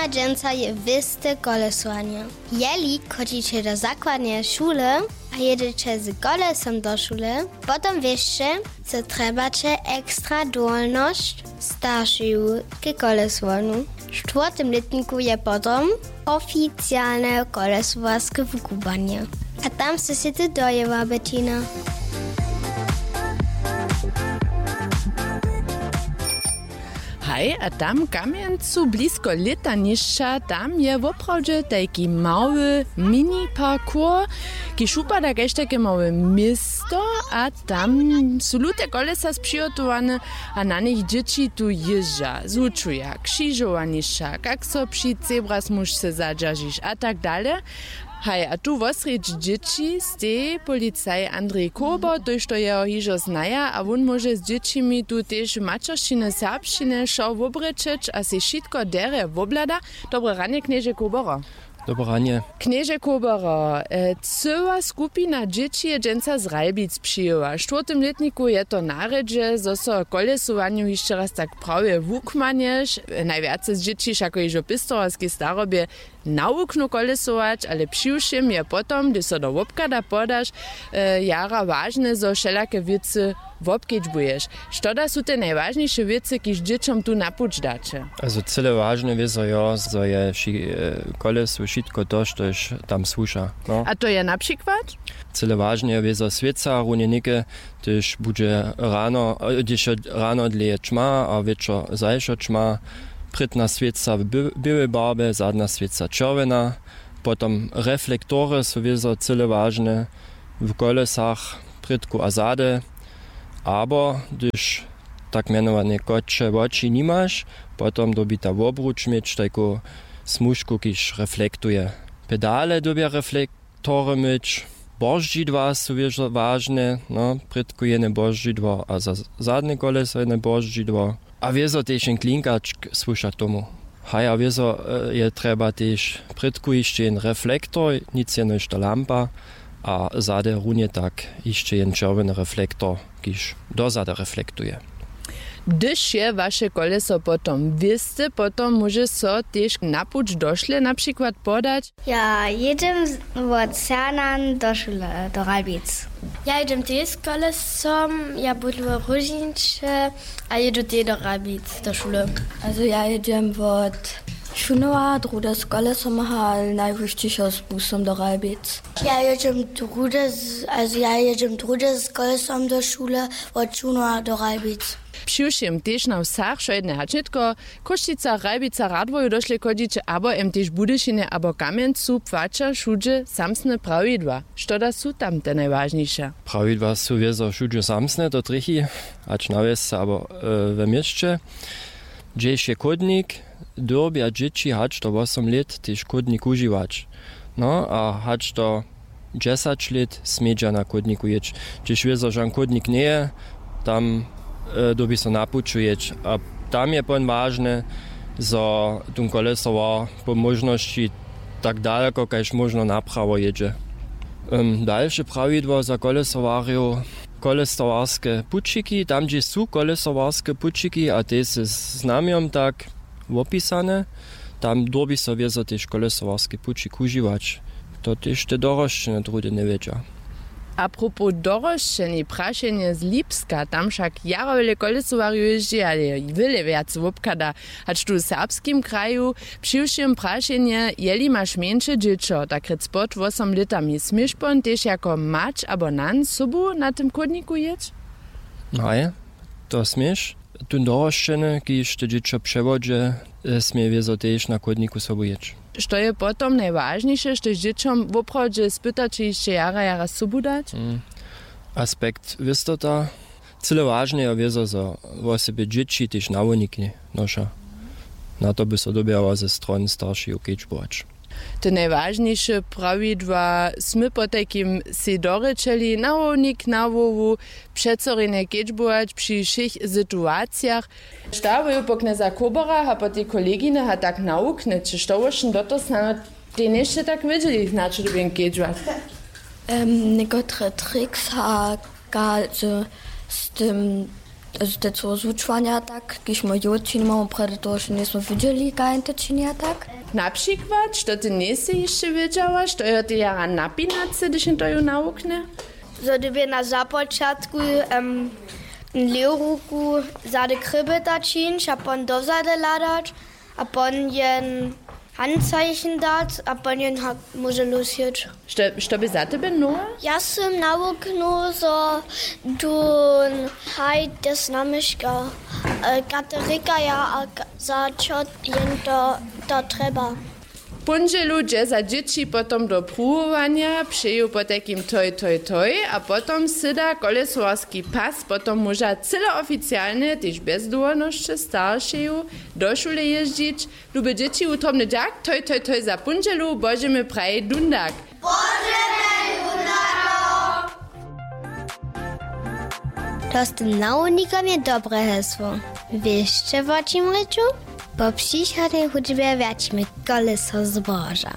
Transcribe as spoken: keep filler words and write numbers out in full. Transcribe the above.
A dźensa je wěste kolesowanje. Jeli chodźiće do zakładneje šule a jědźeće z kolesom do šule, potom wěsće, zo trjebaće ekstra dowolnosć staršeju k kolesowaniu. W štwórtym lětniku je potom oficialne kolesowarske wukubłanje. A tam sy sej ty dojěła, Bettina. Haj, a tam w Kamjencu blisko lětanišća, tam je woprawdźe tajki mały mini parkour, kiž wupada kaž tajke małe město, a tam su lute kolesa spřihotowane a na nich dźěći tu jězdźa, zwučuja křižowanišća, kak so při zebra smužce zadźeržiš a tak dale. Haj, a tu wosrjedź dźěći steji policaj Andrej Kober, tójšto jeho hižo znaja, a wón móže z dźěćimi tu tež w maćeršćinje serbšćinje wšo wobrěčeć a sej wšitko derje wobhlada. Dobre ranje, knježe Kobero. Dobre ranje. Knježe Kobero, e, cyła skupina dźěći je dźensa z Ralbic přijěła. W štwórtym lětniku je to na rjedźe, zo so w kolesowanju hišće raz tak prawje wukmanješ. Najwjace z dźěći wšako hižo w pěstowarskej starobje nawuknu kolesować, ale přiwšěm je potom, hdyž so do wobchada podaš, e, jara wažne, zo wšelake wěcy wobkedźbuješ. Što da su te najwažniše wěcy, kiž dźěćom tu na puć daće? Also cyle wažne wězo jo, zo je wši-, e, kolesu wšitko to, štož tam słuša. No. A to je na přikład? Cyle wažne je wězo swěca, runje něke, hdyž budźe rano, e, hdyž je rano dlěje ćma a wječor zašo ćma, prědna swěca w bě-, běłej barbje, zadna swěca čerwjena, potom reflektory su wězo cyle wažne w kolesach, prědku a zady, abo hdyž tak mjenowane koće woči nimaš, potom dyrbita wobruč měć tajku smužku, kiž reflektuje. Pedale dyrbja reflektory myć, boždźidła su wězo wažne, no, prědku jene boždźidło a za zadne koleso jene boždźidło. A wězo tež jen klinkačk słuša tomu. Haj, a wězo, e, je trjeba tež prědku hišće jen reflektor, nic jenož ta lampa, a zady runje tak hišće jen čerwjeny reflektor, kiž dozady reflektuje. Hdyž je waše koleso potom wěste, potom móže so tež na puć došle na přikład podać. Ja jědźem z-, wot Sernan do šule, do Ralbic. Ja jědźem tež z kolesom, ja bydlu w Róžniće a jědu tež do Ralbic do šule. Also ja jědźem wot Šunowa, druhdy z kolesom, ale najwišćišo z busom do Ralbic. Ja jědźem druhdy z-, also ja jědźem druhdy z kolesom do šule wot Šunowa do Ralbic. Přiwšěm tež na wsach wšojedne hač nětko, w Chrósćicach, Ralbicach, Radworju došle chodźiće abo em tež w Budyšinje abo Kamjencu, płaća wšudźe samsne prawidła. Što da su tam te najwažniše? Prawidła su wězo wšudźe samsne, to trjechi, hač na wjesce abo, e, we měsće. Hdźež je chódnik, dyrbja dźěći hač do wosom lět tež chódnik wužiwać. No a hač do dźesać lět smědźa na chódniku jěć. Hdźež wězo žan chódnik njeje, tam, e, dyrbi so na puću jěć. A tam je pon wažne, zo tón kolesowar po móžnosći tak daleko kaž móžno naprawo jědźe. Em, dalše prawidło za kolesowarjow, kolesowarske pućiki, tam hdźež su kolesowarske pućiki a te z znamjom tak wopisane, tam dyrbi so wězo tež kolesowarski pućik wužiwać. To tež te dorošćene druhdy njewědźa. A propos dorošćeni, prašenje z Lipska, tam wšak jara wjele kolesowarjow jězdźi, ale wjele wjac wobchada hač tu w serbskim kraju. Přiwšěm prašenje, jeli maš mjeńše dźěćo, tak rěc pod wosom lětami, směš pon tež jako mać abo nan sobu na tym chódniku jěć? Haj, to směš. Tón dorošćeny, kiž te dźěćo přewodźe, e, smě wězo tež na chódniku sobu jěć. Što je potom najwažniše, štož dźěćom woprawdźe spytaće hišće jara, jara sobu dać? Mm. Aspekt wěstota. Cyle wažne je wězo, zo wosebje dźěći tež nawodniki noša. Na to by so dyrbjało ze strony staršeju kedźbować. Te najwažniše prawidła smy potajkim sej dorěčeli, nawownik na hłowu, přecorjenje kedźbować při wšěch situacijach. Stałuju po knjeza Koberach a po tej koleginach a tak nawuknjeće, što wóšin do toho snano tej nješće tak wědźeli, na čo dyrbjen kedźbować. Em, někotre tricks a ka-, z, z tym Te co zwučowanja tak, kiž my jo činimy, prjedy toho še njejsmy widźeli, kaž to čini a tak. Na přikład, što ty njejsy hišće wědźała, što jo ty jara napinacy, hdyž jen to ju nawuknje? Zo dyrbje na započatku em, lěwu ruku zady krybeta čińć a pon dozady hladać a pon jen handzeichen dać a pon jen ha- móže lósjeć. Što, što by za tebe nowa? Ja sym nawuknył, zo tón haj te znamyška katerika ja a za čo jen to, to trjeba. W póndźelu dźe za dźěći potom do pruwowanja, přeju potajkim toj toj toj a potom syda kolesowarski pas, potom móža cyle oficialnje tež bjez dołhonosće staršeju do šule jězdźić. Lube dźěći, wutrobny dźak, toj toj toj za póndźelu, božemy praji dundak. To z tym nawodnikom je dobre hesło. Wěsće wo čim rěču? Po přichodnej hudźbje wjaćimy koleso zboža.